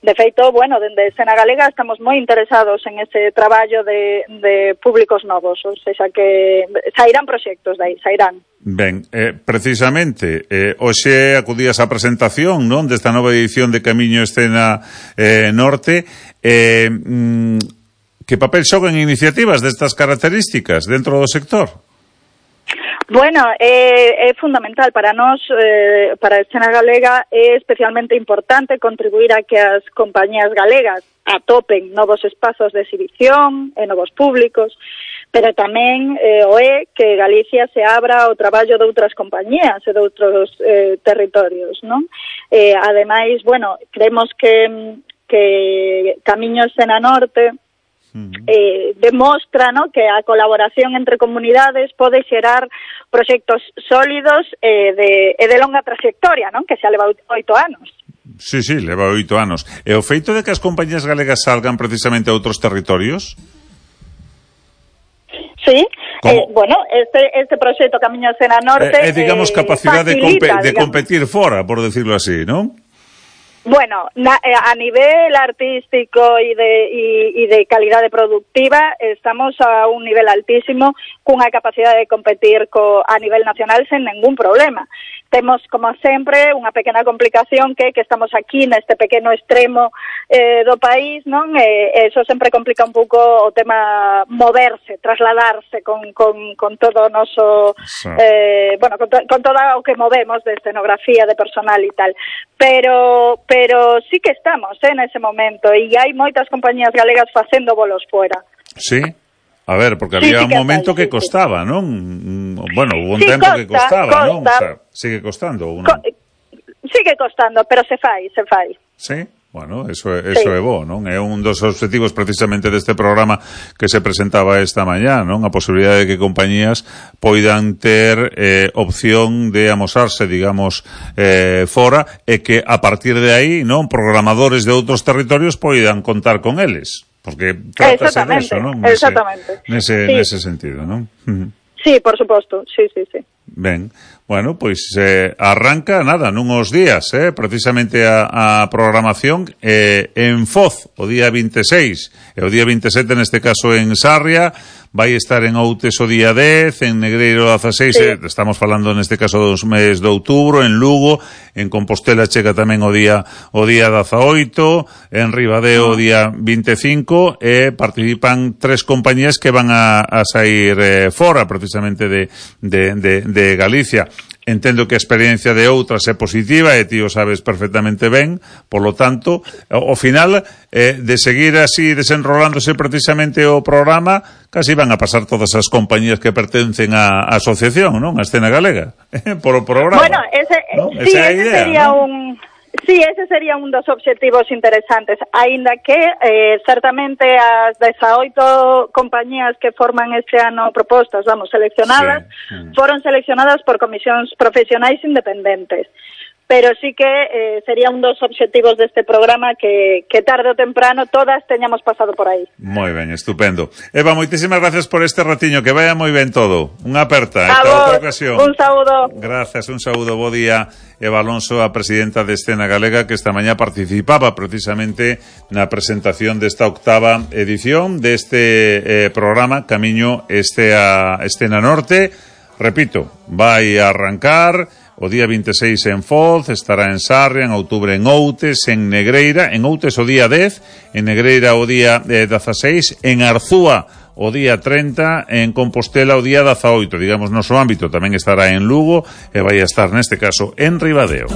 De feito, bueno, dende Escena Galega estamos moi interesados en ese traballo de públicos novos, ou seja que sairán proxectos dai, sairán. Ben, precisamente, hoxe acudías á presentación, non, desta nova edición de Camiño Escena Norte. Que papel xogan iniciativas destas características dentro do sector? Bueno, é fundamental para nós, para a Escena Galega, é especialmente importante contribuir a que as compañías galegas atopen novos espazos de exhibición e novos públicos, pero tamén que Galicia se abra ao traballo de outras compañías e de outros territorios, non? Ademais, bueno, creemos que Camiño Escena Norte demostra, ¿no?, que a colaboración entre comunidades pode xerar proxectos sólidos e de longa trayectoria, non?, que xa leva 8 anos. Sí, leva 8 anos. E o feito de que as compañías galegas salgan precisamente a outros territorios? Sí, bueno, este proxecto Camiño Escena Norte digamos, capacidade de competir fora, por decirlo así, non? Bueno, a nivel artístico y de calidade productiva estamos a un nivel altísimo, cunha capacidade de competir a nivel nacional sen ningún problema. Temos, como sempre, unha pequena complicación que estamos aquí neste pequeno extremo do país, non? Eso sempre complica un pouco o tema moverse, trasladarse con todo o noso, bueno, con todo o que movemos de escenografía, de personal e tal. Pero sí que estamos nese momento e hai moitas compañías galegas facendo bolos fuera. Sí? A ver, porque había un momento que costaba, non? Bueno, hubo un tempo que costaba, non? O sea, sigue costando ou non? Sigue costando, pero se fai. Sí? Bueno, eso é bo, non? É un dos objetivos precisamente deste programa que se presentaba esta mañá, non? A posibilidade de que compañías poidan ter opción de amosarse, digamos, fora, e que a partir de aí, non, programadores de outros territorios poidan contar con eles. Porque trátase de eso, non? Exactamente. Nese sentido, non? Sí, por suposto, sí. Ben, bueno, pois arranca, nada, nunhos días, precisamente a programación en Foz, o día 26, e o día 27 neste caso en Sarria, vai estar en Outes o día 10, en Negreiro o 16, estamos falando neste caso dos meses de outubro, en Lugo, en Compostela chega tamén o día 18, en Ribadeo o día 25, e participan 3 compañías que van a sair fora, precisamente de Galicia. Entendo que a experiencia de outras é positiva e ti o sabes perfectamente ben, polo tanto, ao final de seguir así desenrolándose precisamente o programa, casi van a pasar todas as compañías que pertencen á asociación, non? A Escena Galega, polo programa. Bueno, ese sería un dos obxectivos interesantes, aínda que certamente as 18 compañías que forman este ano propostas, seleccionadas, foron seleccionadas por comisións profesionais independentes. Pero sí que sería un dos obxectivos deste programa que tarde ou temprano todas teñamos pasado por aí. Moi ben, estupendo. Eva, moitísimas gracias por este ratiño, que vaya moi ben todo. Unha aperta, esta outra ocasión. Un saúdo. Gracias, un saúdo, bo día. Eva Alonso, a presidenta de Escena Galega, que esta mañá participaba precisamente na presentación desta 8ª edición deste programa Camiño Escena Norte. Repito, vai a arrancar o día 26 en Foz, estará en Sarria, en outubro en Outes, en Negreira, en Outes o día 10, en Negreira o día 16, en Arzúa o día 30, en Compostela o día 18, digamos, noso ámbito tamén estará en Lugo e vai a estar neste caso en Ribadeo.